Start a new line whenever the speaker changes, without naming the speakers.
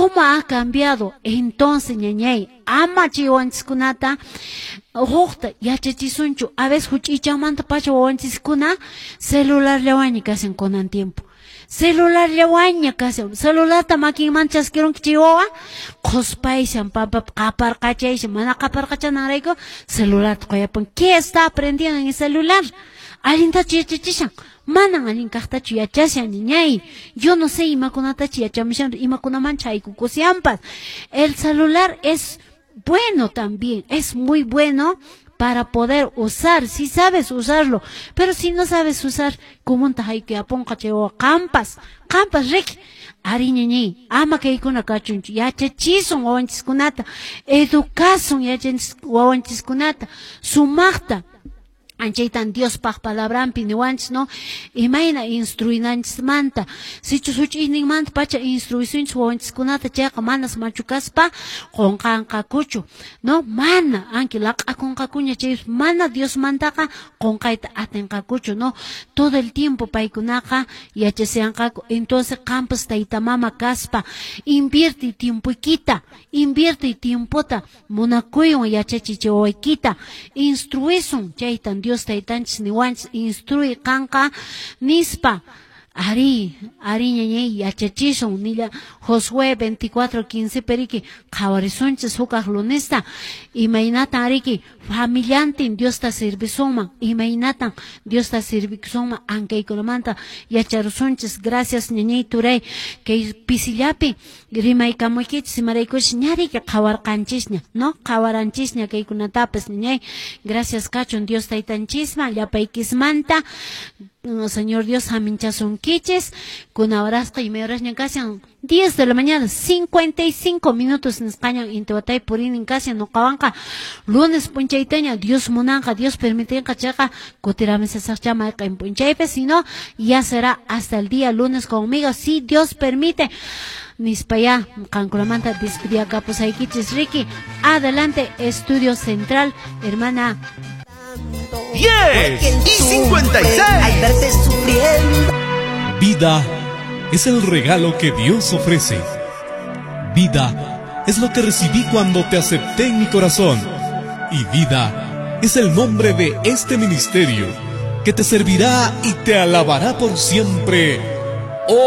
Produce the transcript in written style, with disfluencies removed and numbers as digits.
¿Cómo ha cambiado? Entonces, ñañay, ama chay wawanchiskunata hukta yachachisunchu. A veces huch'iychanmanta pacha wawanchiskuna celularllawanña kashan kunan tiempo. Celularllawanña kashan. Celularta makinman chaskirunki chay wawa, qhuspayshan, pampapi qaparqachayshan, mana qaparqachananrayku celularta quyapun. ¿Qué está aprendiendo en el celular? Allintachu yachachishan? Manan allin kaqtachu yachashan, ñañay. Yo no sé imakunatachu yachamushan, imakunamanchu haykukushanpas. El celular es bueno también, es muy bueno para poder usar, si sabes usarlo, pero si no sabes usar, kumunta haykuyapunqa chay wawa qampas, qampas riki. Ari ñañay, ama kaykuna kachunchu, yachachisun wawanchiskunata, educasun wawanchiskunata, sumaqta. Anchaytan Diospaq palabranpi niwanchis, no? Imayna instruinanchismanta. Sichus huch'uyninmanta pacha instruisunchis wawanchiskunata chayqa manas machu kaspa qunqanqakuchu, no? Mana, anki laq'akunqakuña chay mana Diosmantaqa qunqayta atinqakuchu, no? Todo el tiempo paykunaqa yachasianqaku. Entonces qampas tayta mama kaspa invierte tiempoykita, invierte tiempota munakuywan yachachiy chay wawaykita, instruisun chaytan Dios taytanchis niwanchis instruy qanqa nispa. Ari, ari ñañay yachachisun nilla Josué 24:15 periki qhawarisunchis hukaq lunesta imaynatan ariki familiantin Diosta servisunman, imaynatan Diosta servisunman ankaykunamanta yacharusunchis. Gracias ñañay turay kay pisillapi rimaykamuykichis imaraykuchis ñariki qhawarqanchisña, no? Qhawaranchisña kaykunatapas ñañay. Gracias kachun Dios taytanchisman llapaykismanta. Señor Dios haminchasunkichis kuna horasqa imay horasña kashan 10 de la mañana 55 minutos nisqañan intiwatay purinin kashan nuqawanqa lunes p'unchaytaña Dios munanqa Dios permitinqa chayqa kutiramisasaqcha mayqin p'unchaypi, sino ya será hasta el día lunes conmigo si Dios permite. Nispaya qankunamanta despediakapusaykichis riki. Adelante Estudio Central, hermana.
10 y 56.
Al verte sufriendo.
Vida es el regalo que Dios ofrece. Vida es lo que recibí cuando te acepté en mi corazón. Y vida es el nombre de este ministerio que te servirá y te alabará por siempre.